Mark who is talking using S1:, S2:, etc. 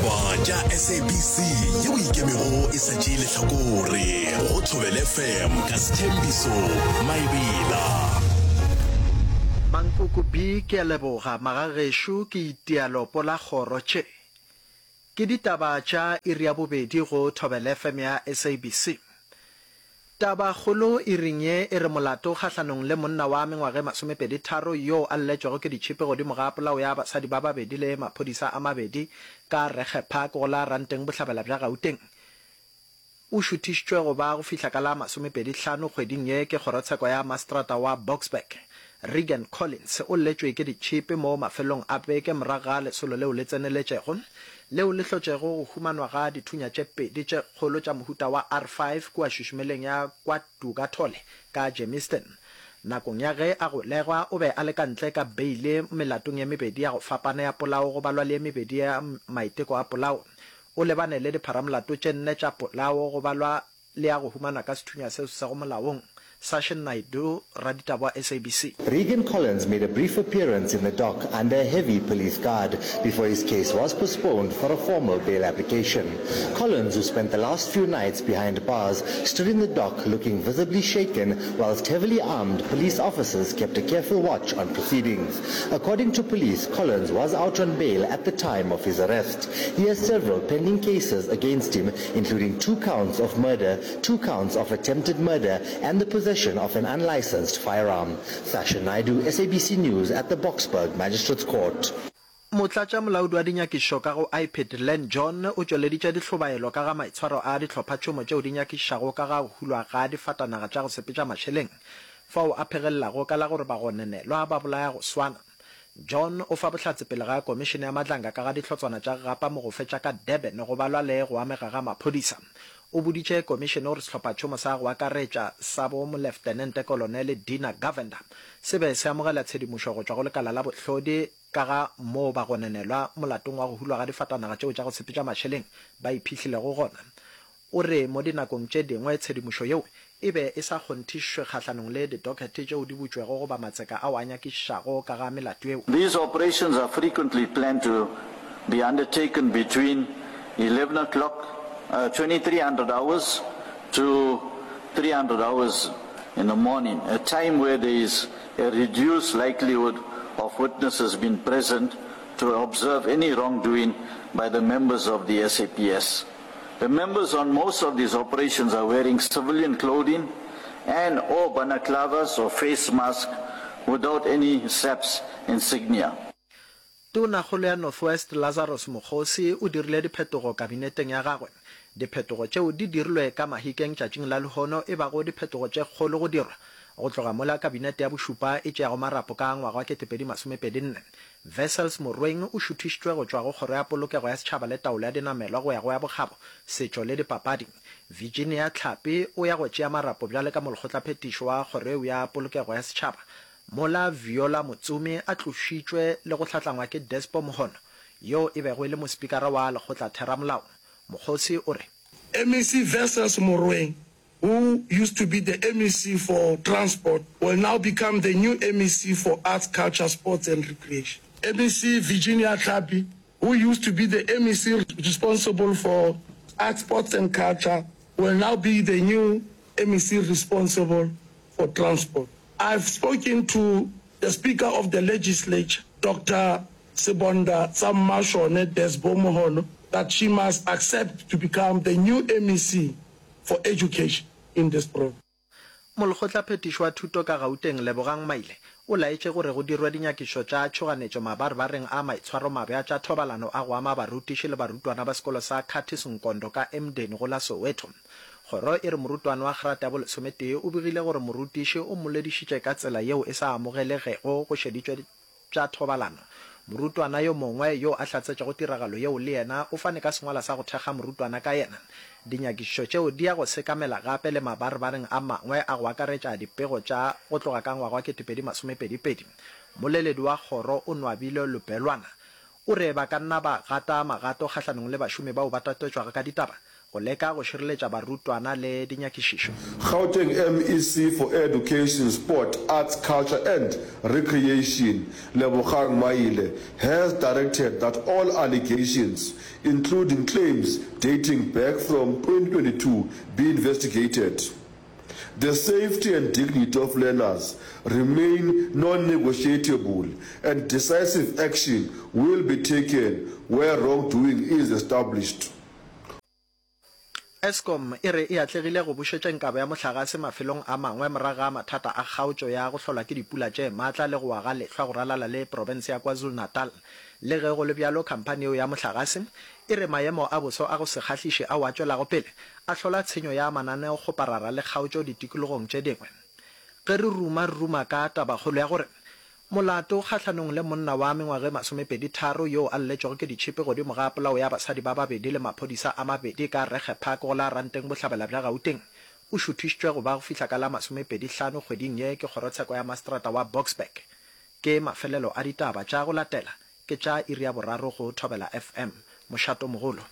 S1: Ditaba tša SABC yeo e ikemego e sa tšee lehlakore go Thobela FM ka Sthembiso Maebela.
S2: Mankoko B Ke a leboga magagešo ke itia lopo la kgoro tše. Ke ditaba tša iri ya bobedi go Thobela FM ya SABC. Tabakgolo iring ye e re molato kgahlanong le monna wa mengwaga e masomepeditharo yoo a lletšwego ke ditšhipi godimo ga polao ya basadi ba babedi le maphodisa a mabedi ka Regge Park go la Ranteng bohlabela bja Gauteng o šuthišitšwe go ba go fihla ka la masomepedihlano kgweding ye ke kgorotsheko ya maseterata wa Boksburg. Regan Collins o lletšwe ke ditšhipi mo mafelong a beke morago ga lesolo leo le tseneletšego leo le hlotšego go humanwa ga dithunya tše pedi tše kgolo tša mohuta wa R5 kua šušumeleng ya kwa Dukathole ka Germiston. Nakong ya ge a golegwa o be a le ka ntle ka beile melatong ye mebedi ya go fapana ya polao go balwa le ye mebedi ya maiteko a polao. O lebane le dipharamolato tše nne tša polao go balwa le ya go humanwa ka sethunya seo se sego molaong. Sashin Naidoo, raditaba wa SABC.
S3: Regan Collins made a brief appearance in the dock under a heavy police guard before his case was postponed for a formal bail application. Collins, who spent the last few nights behind bars, stood in the dock looking visibly shaken whilst heavily armed police officers kept a careful watch on proceedings. According to police, Collins was out on bail at the time of his arrest. He has several pending cases against him, including two counts of murder, two counts of attempted murder and the possession of an unlicensed firearm. Sasha Naidoo, SABC News at the Boksburg Magistrates Court.
S2: Motlatšamolaodi wa dinyakišišo ka go IPID, Len John, o tšweleditše dihlobaelo ka ga maitshwaro a dihlophatšhomo tšeo di nyakišišago ka ga go hulwa ga difatanaga tša go sepetša mašeleng, fao a phegelelago ka la gore bagononelwa ba bolaya go swana. John o fa bohlatse pele ga Komišene ya Madlanga ka ga dihlotswana tša gapa mogofe tša ka Durban go balwa le go amega ga maphodisa. O boditše komišene gore sehlophatšhomo sa go akaretša sa bo Moleftenente Kolonele Dina Govender se be se amogela tshedimošo go tšwa go lekala la bohlodi ka ga moo bagononelwa molatong wa go hulwa ga difatanaga tšeo tša go sepetša mašeleng ba iphihlilego gona. O re mo dinakong tše dingwe tshedimošo yeo e be e sa kgonthišwe kgahlanong le didokete tšeo di butšwego goba matseka ao a nyakišišago ka ga melato yeo.
S4: These operations are frequently planned to be undertaken between 11 o'clock, 2300 hours to 300 hours in the morning, a time where there is a reduced likelihood of witnesses being present to observe any wrongdoing by the members of the SAPS. The members on most of these operations are wearing civilian clothing and or balaclavas or face masks without any SAPS insignia.
S2: Tonakgolo ya North West Lazarus Mokgosi o dirile diphetogo kabineteng ya gagwe. Diphetogo tšeo di dirilwe ka Mahikeng tšatšing la lehono e bago diphetogo tše kgolo go dirwa go tloga mola kabinete ya bošupa e tšeago marapo ka ngwaga wa 2024. Wessels Morweng o šuthišitšwe go tšwa go Kgoro ya Polokego ya Setšhaba le Taolo ya Dinamelwa go ya go ya Bokgabo, Setšo le Dipapadi. Virginia Tlhapi o ya go tšea marapo bjale ka molekgotlaphethiši wa kgoro yeo ya Polokego ya Setšhaba, mola Viola Motsumi a tlošitšwe le go hlatlangwa ke Despo Mohono, yoo e bego e le mospikara wa lekgotlatheramolao. Mokgosi o re.
S5: MEC Wessels Morweng who used to be the MEC for Transport, will now become the new MEC for Arts, Culture, Sports and Recreation. MEC Virginia Tlhapi, who used to be the MEC responsible for Arts, Sports and Culture, will now be the new MEC responsible for Transport. I've spoken to the Speaker of the Legislature, Doctor Sebonda Tsa-Mmashone Desbo Mohono, that she must accept to become the new MEC for education in this province.
S2: Molekgotlaphethiši wa thuto ka Gauteng, Lebogang Maile, o laetše gore go dirwe dinyakišišo tša tšhoganetšo mabarebareng a maitshwaromabe a tša thobalano a go ama barutiši le barutwana ba sekolo sa Curtis Nkondo ka Emdeni go la Soweto. Kgoro e re morutwana wa grata ya bolesometee o begile gore morutiši o mmoledišitše ka tsela yeo e sa amogelegego go šeditšwe tša thobalano. Morutwana yo mongwe yo a hlatsetšego tiragalo yeo le yena o fane ka sengwalwa sa go thekga morutwana ka yena. Dinyakišišo tšeo di ya go sekamela gape le mabarebareng a mangwe a go akaretša dipego tša go tloga ka ngwaga wa 2022. Mmoleledi wa kgoro o Nwabile Lubhelwana o re ba ka nna ba gata magato kgahlanong le bašomi bao ba tatetšwago ka ditaba. Go leka go šireletša barutwana le dinyakišišo.
S6: Gauteng MEC for Education, Sport, Arts, Culture and Recreation, Lebogang Maile, has directed that all allegations, including claims dating back from 2022, be investigated. The safety and dignity of learners remain non-negotiable and decisive action will be taken where wrongdoing is established.
S2: Eskom e re e atlegile go bušetšeng kabo ya mohlagase mafelong a mangwe morago ga mathata a kgaotšo ya go hlolwa ke dipula tše matla le go wa ga lehlwa go ralala le profense ya KwaZulu-Natal. Le ge go le bjalo, khamphani yeo ya mohlagase e re maemo a boso a go se kgahliše ao a tšwelago pele a hlola tshenyo ya mananeokgoparara le kgaotšo ditikologong tše dingwe. Ge re ruma re ruma ka tabakgolo ya gore Molato kgahlanong le monna wa mengwaga e masomepedi-tharo yoo a lletšwego ke ditšhipi godimo ga polao ya basadi ba babedi le maphodisa a mabedi ka Regge Park go la Ranteng Bohlabela bja Gauteng o šuthišitšwe go ba go fihla ka la masomepedi-hlano kgweding ye ke kgorotsheko ya maseterata wa Boksburg. Ke mafelelo a ditaba tša go latela ke tša iri ya boraro go Thobela FM. Mošatomogolo.